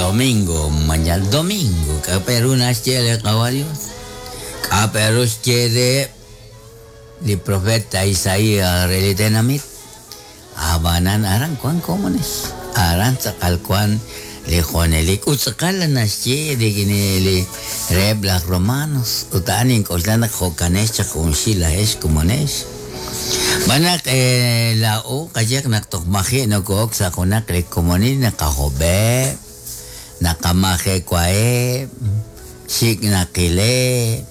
Domingo, mañana domingo, k'a pe ru naxye li Qawa' Dios? K'a pe ru xye reheb' li profeta Isaías re li tenamit? Ab'anan aran wank komonex, aran tz'aqal wank li junelik ut tz'aqal naxye rik'in li reheb' laj Romanos ut a'an nink'oxla naq jo'kanex chaq junxil laa'ex komonex. Xb'aan naq laa'o qayehaq naq toj maji' noko'ok sa' junaq li komonil naqajob'eb', naqamajewaheb', xik' naqileb',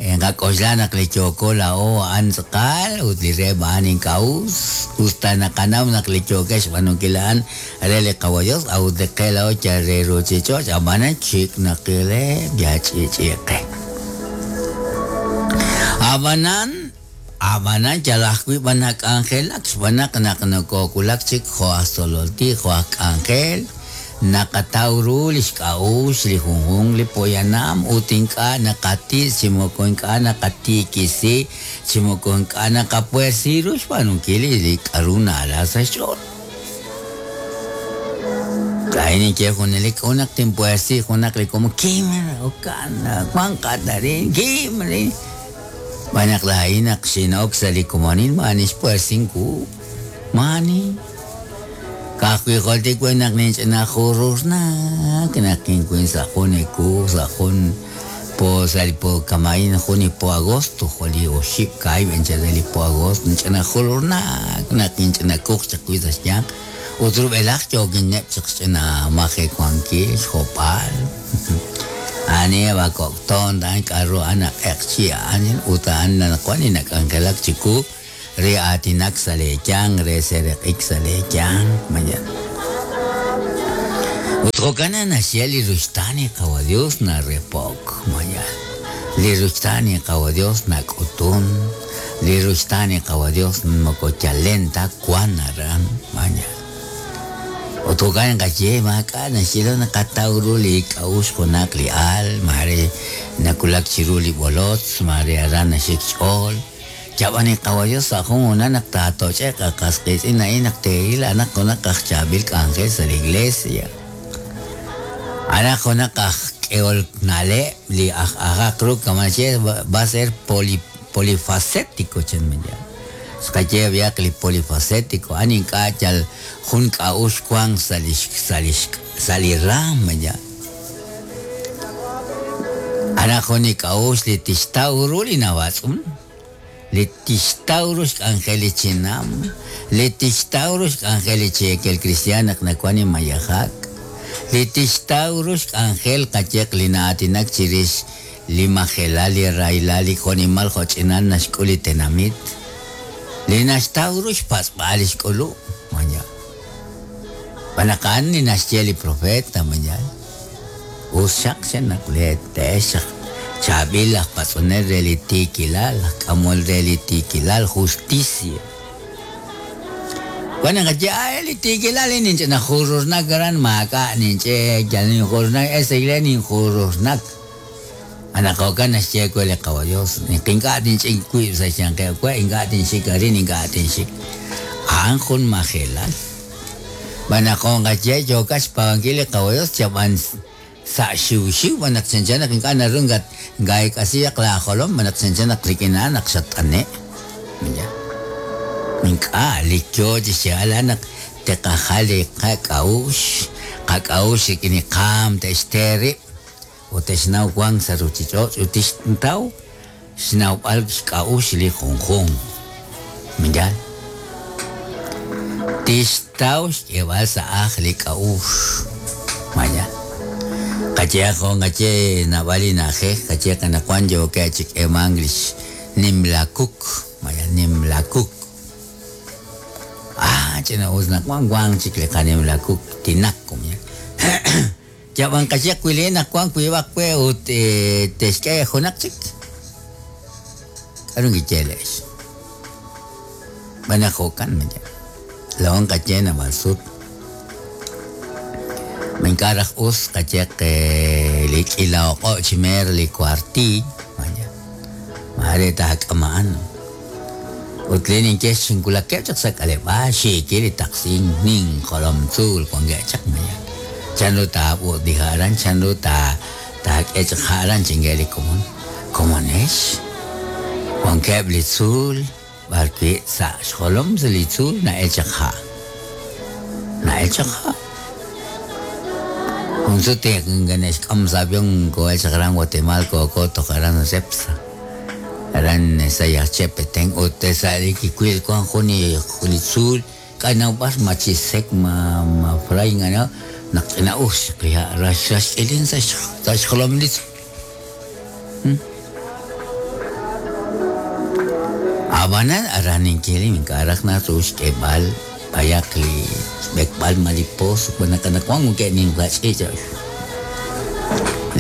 Nqak'oxla naq li yooko laa'o a'an tz'aqal ut li reheb' a'an ink'a' us, us ta naqanaw naq li yookex xb'aanunkil a'an re li Qawa' Yos, a'ut li qe laa'o yal re ruuchich'och', ab'anan xik' naqileb' yal ch'i'ch'i' qe. Ab'anan, ab'anan yal ajwi' b'an nak'anjelak xb'aan naq naq nokoowulak chik jo' aj tzolol tij, jo' aj k'anjel, Naqataw ru li xk'a'uxl li junjunq li poyanam ut ink'a' naqatitz' chi moko ink'a' naqatiikisi chi moko ink'a' naqapuersi ru xb'aanunkil li k'a'ru na'ala sa' xch'ool. Laa'in ninye junelik k'a'ut naq tinpuersi junaq li komon, kim, jo'kan, wanqat arin, kim arin. Xb'aan naq laa'in naq xin'ok sa' li komonil maa'ani xpuersink wu, maa'ani. Ka'ajwi' joltik we naq ninch'ina jururnak naq kinwil sa' jun ewu sa' jun po sa' li po kama'in jun li po agosto jo' li oxib' kaahib' anchal re li po agosto ninch'ina jururnak naq kinch'ina kuq chaq wi' sa' xyanq ut rub'elaj yookineb' chaq xch'ina majewankil xjob'al a'aneb' a kok' toon a'an k'a'ru a'an a q'eqchi' a'an ut a'an anaqwan li nak'anjelak chiwu Re aatinak sa' lee yanq, re seeraq'ik sa' lee yanq, mayan. Ut jo'kan naq naxye li ruxtaan li Qawa' Dios narepo'k, mayan. Li ruxtaan li Qawa' Dios nak'utun, li ruxtaan li Qawa' Dios moko chalen ta wan aran, mayan. Ut jo'kan naqaye, maak'a' naxye lo naqataw ru li k'a'uxl junaq li al, maare nawulak chiru li b'olotz, maare aran naxik xch'ool. Chab'an li Qawa' Yos sa' jun hoonal naq taatoch'e'q a qas qiitz'in a'in naq teeril a'anaq junaq aj chaab'il k'anjel sa' li Iglesia. A'anaq junaq aj k'ehol na'leb' li aj ajaq ru kama' naxye va a ser poli polifacético chan Miguel. Xqaye b'ayaq li polifacético a'an ink'a' yal jun k'a'uxl wank sa' lix sa' lix sa' li raam ya. A'anaq jun li k'a'uxl li tixtaw ru li nawatz'un, li tixtaw ru xk'anjel li chinam, li tixtaw ru xk'anjel li cheekel kristiaan naq nawan li mayejak, li tixtaw ru xk'anjel qayehaq li na'aatinak chirix li majelal, li rahilal, li jo'nimal jo'ch'inal naxk'ul li tenamit, li naxtaw ru xpatz'b'al li xk'ulub', maña. Xb'aan naq a'an li naxye li profeet, maña. Us xaq chan naq te'ex chaq chaab'il aj patz'onel re li tiikilal, aj k'amol re li tiikilal, justicia. Wan naqaye, ah, li tiikilal a'in ninch'ina jururnak aran, maak'a' ninch'e, yal ninjururnak, esa iglesia ninjururnak. Anaq jo'kan naxye we li Qawa' Dios, naq ink'a' tinch'ik wib' sa' xyanqeb' we, ink'a' tinxik arin, ink'a' tinxik. A'an jun majelal. Xb'aan naq jo' nqaye yookat xpaab'ankil li Qawa' Dios chab'an sa' xiwxiw xb'aan naq chanchan naq ink'a' naru ngaa'eek'asihaq laajolom xb'aan naq chanchan naq rik'in a'an naq xatt'ane'. Ink'a' li yoo chi xyeeb'al a'an naq te'qajal li qak'a'uxl, qak'a'uxl rik'in li qaam te'xte rib' Ut te'xnaw wank sa' ruuchich'och' ut tixtaw xnawb'al xk'a'uxl li junjunq. Ma yaal? Tixtaw xk'eeb'al sa' ajl li k'a'uxl. Ma yaal? Qayehaq jo' nqaye naab'al li na'ajej, qayehaq anaqwan yookeb' chi k'eemank li xnimla kuk, ma yaal? Nimla kuk. Ah, ch'ina'us naq wan, wank chik li qanimla kuk, tinaco, ma yaal? Yab'an qayehaq wi leen naq wank wiib'aq we ut te'xk'e junaq chik. K'aru nkiye le'x? Xb'aan naq jo'kan maye. Laa'o nqaye naab'al sut. Ma ink'a' raj us qayehaq li k'iila oq'o' chi meer li kuartiiy, maye. Maare taak'ama'an. Ut len ninye xinwulakeb' chaq sa' k'aleb'aal xiikil li taqsink nin jolom tzuul wankeb' chaq maye. Chanru taab'ut li ha' aran, chanru taak'e chaq ha' aran, chankeb' li komon. Komonex, wankeb' li tzuul b'arwi' sa' xjolom sa' li tzuul na'el chaq ha'. Na'el chaq ha'. Jun sut kine'xk'am sa' avión koo'el chaq aran Guatemala kooko toj aran Cepsa. Aran Sayaxche, Petén ut sa' li kiwil wank jun li tzuul K'a' nawb'al ma chi sek ma ma fray ngana naq ch'ina'us chaq li ha' rax rax ch'ilin sa' sa' xjolom li tzuul. Ab'anan aran ninkil ink'a' raj naru xk'eeb'al b'ayaq li xb'ekb'al ma li pozo xb'aan naq anaqwan wankeb' nimla ch'iich'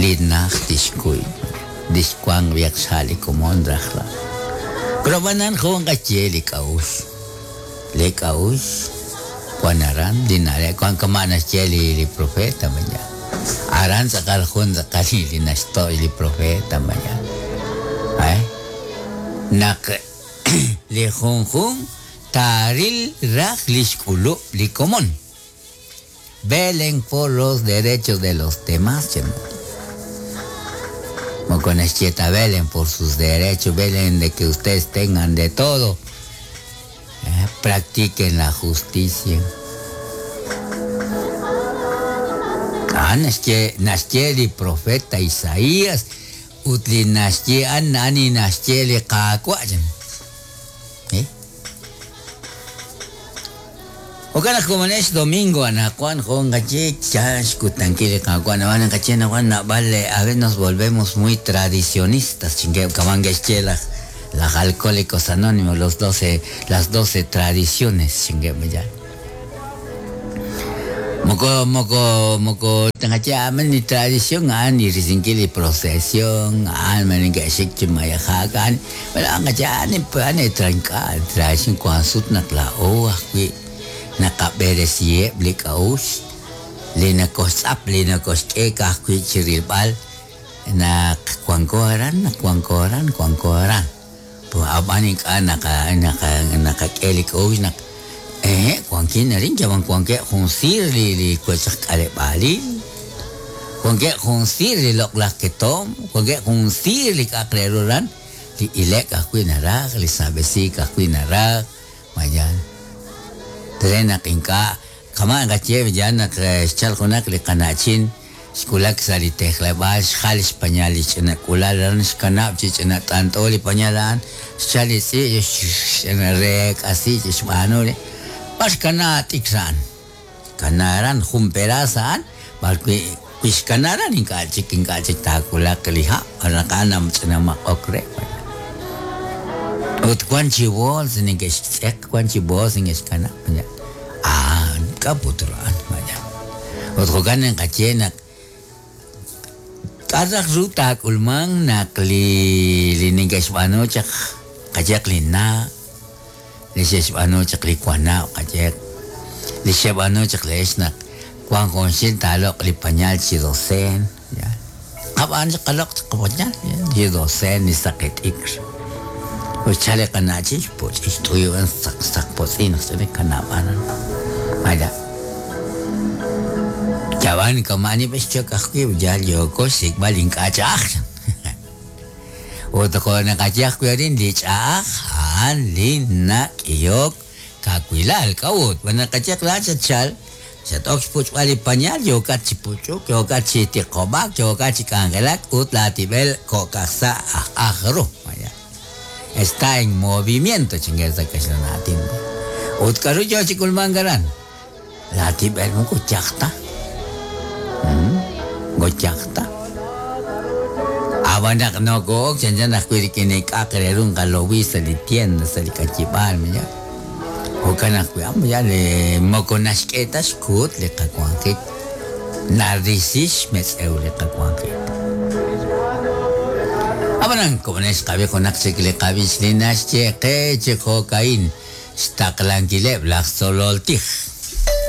li najt tixkuy li xwanq b'ayaq xha' li komon rajlal. Pero ab'anan jun qaye li k'a'uxl. Li k'a'uxl wan aran, li na'leb' wan kama' naxye li li profeta mañana. Aran tz'aqal jun tz'aqal li naxto' li profeta mañana. Eh? Naq li junjunq taaril raj li xk'ulub' li komon. Velen por los derechos de los demás, chan. Moko naxye ta velen por sus derechos, velen de que ustedes tengan de todo. Eh, practiquen la justicia. A'an naxye, naxye li profeta Isaías ut li naxye a'an a'an li naxye li Qaawa' chan. Eh? Jo'kan naq komonex domingo anaqwan jo' nqaye yaal xkutankil li Qaawa' nab'al naqaye anaqwan naab'al a veces nos volvemos muy tradicionistas chinkeb' kama' nke'xye laj laj Alcohólicos Anónimos los doce las doce tradiciones chinkeb' yaal. Moko moko moko tqaye a'an li tradición a'an li risinkil li procesión a'an ma neke'xik chi mayejak a'an pero a'an qaye a'an a'an ink'a' tradición wank sut naq laa'o ajwi' naqab'eresiheb' li k'a'uxl li nakoxtz'ap li nakoxk'e ka'ajwi' chi rilb'al naq wanko aran naq wanko aran wanko aran. Ab'an ink'a' naqa naqa naqak'e li k'a'uxl naq ehe' wankin arin yalaq wankeb' jun siir li li wech aj k'aleb'aalil, wankeb' jun siir li loq'laj ketomq, wankeb' jun siir li k'a'aq re ru aran, li ile'k ajwi' naraj, li saab'esiik ajwi' naraj, ma yaal? Re naq ink'a' Kama' nqaye yaal naq xchalk junaq li qana'chin, xwulak sa' li tejleb'aal, xjal xpañal li ch'ina k'uula'al aran, xkanab' chi ch'ina t'ant'o li pañal a'an, xchalk li tz'i' xreek'asi chi xb'aanu re, b'ar xkana t'ikr a'an? Xkana aran jun peraas a'an, b'arwi' wi xkana aran ink'a' chik ink'a' chik taawulaq li ha' naq a'an ch'ina maq'ok re. Ut wank chi bools neke'xtz'eq, wank chi bools neke'xkanab'. A'an, k'a' put ru a'an? Maya. Ut jo'kan ninqaye naq k'a' raj ru taak'ulmanq naq li li neke'xb'aanu chaq qayehaq li na', li xe'xb'aanu chaq li wanab' qayehaq, li xe'b'aanu chaq leex naq wank junxil taaloq' li pañal chi doceen, ya. Qab'aan chaq qaloq' chaq qapañal chi doceen li saqi t'ikr. Ut xchal li qana'chin xpuch'i xt'uyub'an saq saq potz'i naq xch'ina kanab'an. Maya. Yab'an kama' ani b'e xchok ajwi' yal yooko xsik'b'al ink'a' ch'a'aj. Ut jo' naqaye ajwi' arin li ch'a'aj a'an li nak'ihok kawilal. K'a'ut? Xb'aan naq qayehaq laa'at xatchal Xat-ok xpuch'b'al li pañal, yookat chi puch'uk, yookat chi tiqob'ak, yookat chi k'anjelak ut laatib'el kok'aj sa' aj aj ru. Está en movimiento, chinkel sa' kaxlan aatin. Ut k'aru yoo chi k'ulmank aran? Laatib'el moko yaj ta. Moko yaj ta. Ab'an naq nokoo'ok chanchan ajwi' rik'in li k'a'aq re ru nqalowi sa' li tienda, sa' li k'ayib'aal, Jo'kan ajwi' a'an yal moko naxk'e ta xkuut li qawanjik, narisi xmetz'ew li qawanjik. Ab'anan, komonil xqab'i junaq chik li qab'ich li naxye qe chi jo'ka'in xtaqlankileb' laj tzolol tij.